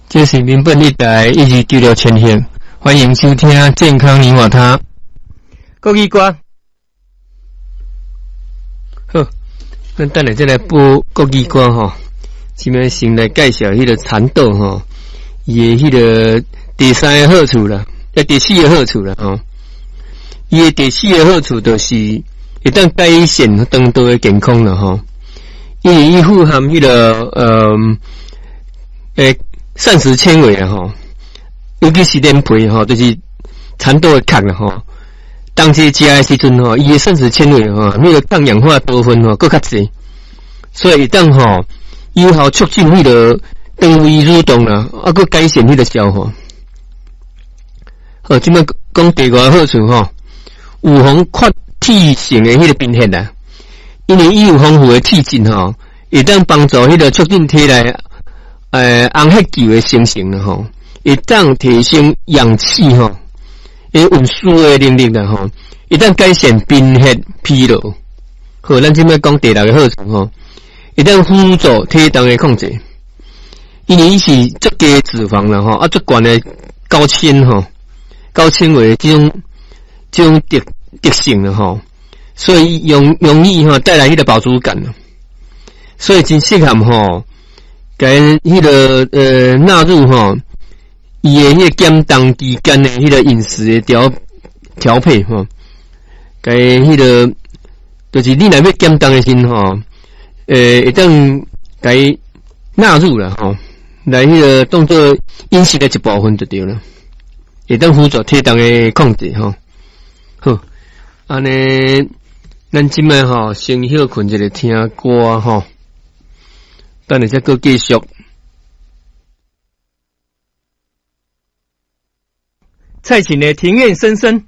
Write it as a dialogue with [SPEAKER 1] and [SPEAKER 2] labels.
[SPEAKER 1] 這是民本一台1296千赫，歡迎收聽健康你我他。國語歌，好，咱等下再來播國語歌吼。這擺先來介紹彼個蠶豆吼，伊的彼個第三个好處啦，第四个好處啦吼。伊的第四个好處就是會當改善腸道的健康啦吼，因為伊富含彼個膳食纖維啊吼，尤其是連皮吼，就是蠶豆的殼啦吼。當這食的時陣吼，伊的膳食纖維吼，彼個抗氧化多酚吼，閣較濟，所以會當吼有效促進彼個腸胃蠕動啦，啊，閣改善彼個消化。好，這擺講第五個好處吼，預防缺鐵性的彼個貧血啦，因為伊有豐富的鐵質吼，會當幫助彼個促進體內紅血球的生成啦吼，會當提升氧氣吼，運輸的能力啦吼，會當改善貧血疲勞。好，咱這擺講第六个好處吼，會當輔助體重的控制，因為伊是足低脂肪啦吼，啊足懸的高纖吼，高纖維這種特性啦吼，所以容易吼帶來彼個飽足感，所以真適合吼。共彼個納入吼，伊的彼個減重期間的彼個飲食的調配吼，共彼個就是你若欲減重的時陣吼，會當共納入啦吼，來彼個當做飲食的一部分就對了，會當輔助體重的控制吼。好，按呢，咱這擺吼先歇睏一下聽歌吼。等下才閣繼續。蔡琴的庭院深深。